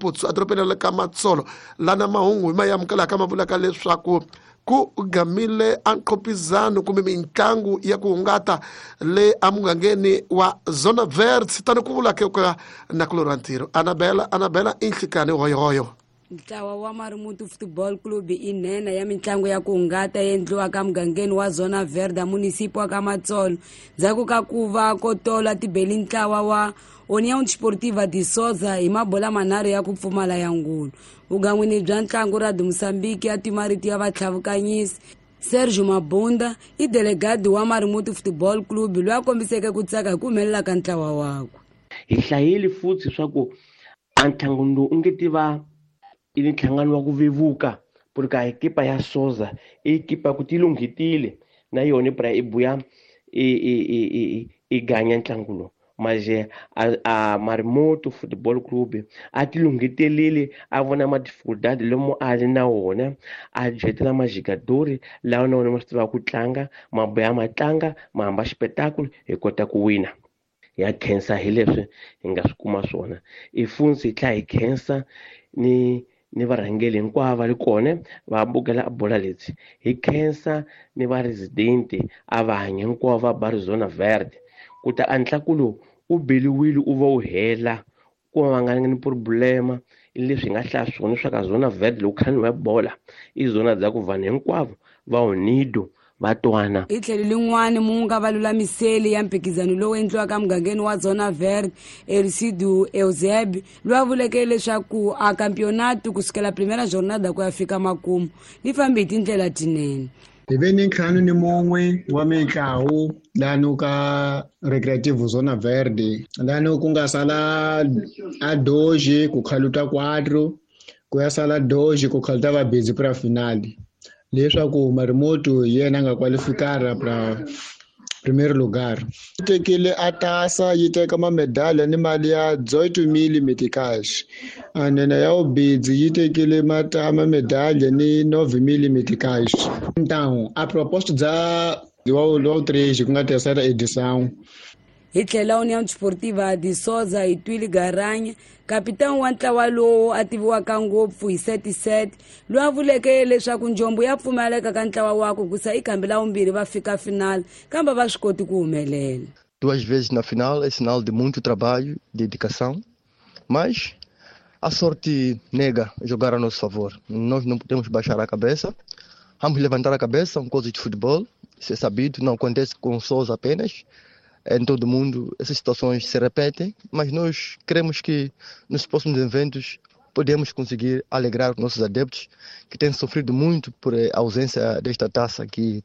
Maputsu edorobeni ra le ka Matsolo lana mahungu hi ma amukelaka ma vulaka leswaku ku gamile anqopizano kumbe mitlangu ya ku hungata le emugangeni wa Zona Verde tani ku vula ke ka nakulorhi wa ntirho Anabela Anabela i nhlikani hoyohoyo. Ntlawa wa Marimutu Football Club i nhenha ya mitlangu ya ku hungata endliwaka mugangeni wa Zona Verde munisipi wa ka Matsolo ndzhaku ka ku va ko tola tibeli ntlawa wa União Desportiva de Sousa hi mabola manharhu ya ku pfumala ya ngulu. Vugan'wini bya ntlangu ra Mozambique ya timarito ya vatlhavukanyisi Sergio Mabunda i delegadi wa Marimutu Football Club loyi a kombiseke ku tsaka hi ku humelela ka ntlawa wakwe. Hi hlayile futhi swa ku a ntlangano lowu u nge tiva i nhlangano wa ku vevuka porque a ekipa ya Sousa i ekipa ku ti lunghetile na yona bra i buya i ganya ntlangu lowu maje a Marimoto Football Club a ti lunghetelile a vona ma dificuldade lomu a ri na wona a jetela majigadori lawa na wona ma swi tivaka ku tlanga ma buya ma tlanga ma hamba xipetakulu hi kota ku wina. Ya khensa hi leswi hi nga swi kuma swona i funtsi hi tlhela hi khensa ni varhangeli hinkwavo va ri kona va bukela bola leti hi khensa ni va resident a va hanya hinkwavo va ba Zona Verde ku ta a ntlangu lowu u beliwile u va u hela ku va nga ni problema leswi hi nga hlaya swona swa ka Zona Verde loko khani wa bola i zona bya ku vanhu hinkwavo va unido va twana. Hi tlhelo lin'wani munga va lulamiseli ya mphikizano lowu endliwaka mugangeni wa Zona Verde Ercido Euseb loyi a vuleke leswaku a campeonato kusukela primera jornada ku ya fika makumu li fambi hi tindlela tinene. Hi ve ni 51 wa mitlawu lano ka Recreativo Zona Verde lano ku nga sala a doji ku khaluta 4 ku ya sala doji ku khaluta va busy pra finale leswaku Marimoto hi yena a nga kwalifikara pra primeiro lugar. Yi tekile a tasa yi teka mamedalha ni mali ya 18,000 meticais. A nene ya ubidzi yi tekile mamedalha ni 9,000 meticais. Então, a proposta dza wa 3 ku nga terceira edição. Hi tlhela União Desportiva de Sousa hi Twili Garanya kapitani wa ntlawa lowu a tiviwaka ngopfu hi 77 loyi a vuleke leswaku njombo ya pfumaleka ka ntlawa wakwe ku sa i khambi la vumbirhi va fika final kambe va swi koti ku humelela. 2 vezes na final é sinal de muito trabalho, dedicação, mas a sorte nega jogar a nosso favor. Nós não podemos baixar a cabeça, vamos levantar a cabeça, são coisas de futebol, isso é sabido, não acontece com Sousa apenas. Em todo mundo essas situações se repetem, mas nós queremos que nos próximos eventos podemos conseguir alegrar os nossos adeptos que têm sofrido muito por a ausência desta taça que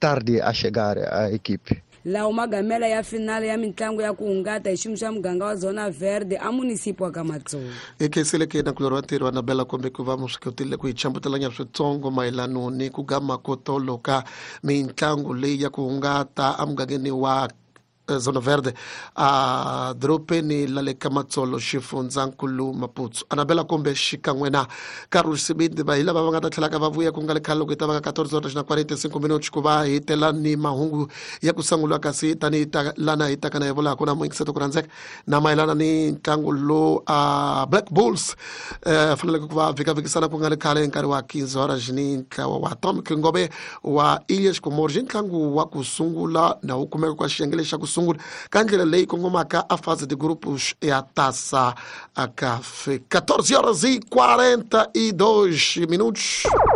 tarde a chegar à equipe. Lawa magamela ya finale ya mitlangu ya ku hungata hi xiyimo xa muganga wa Zona Verde a munisipi wa ka Matsolo. Hi khensile ke nakulorhi wa ntirho Anabela kumbe ku va mu swi kotile ku hi chambutelanya switsongo mayelano ni ku gama ko tolo ka mitlangu leyi ya ku hungata emugangeni wa Zona Verde a dorobeni la le ka Matsolo xifundzankulu Maputo. Anabela kumbe xikan'we na Carlos Sibindi va hi lava va nga ta tlhelaka va vuya ku nga le khale loko hi ta va ka 14:45 ku va hi tela ni mahungu ya ku sungula kasi tanihi lana hi taka na hi vulaka na muingiseto ku rhandzeka na mayelana ni ntlangu lowu a Black Bulls faneleke ku va vhikavhikisana ku nga le khale hi nkarhi wa 15 horas ni ntlawa wa Tom Kingobe wa Ilhas Comores ntlangu wa ku sungula na wu kumeka kwa xiyenge lexi xa ku sungula ka ndlela leyi kongomaka a fase de grupos ya Taça a CAF. 14:42.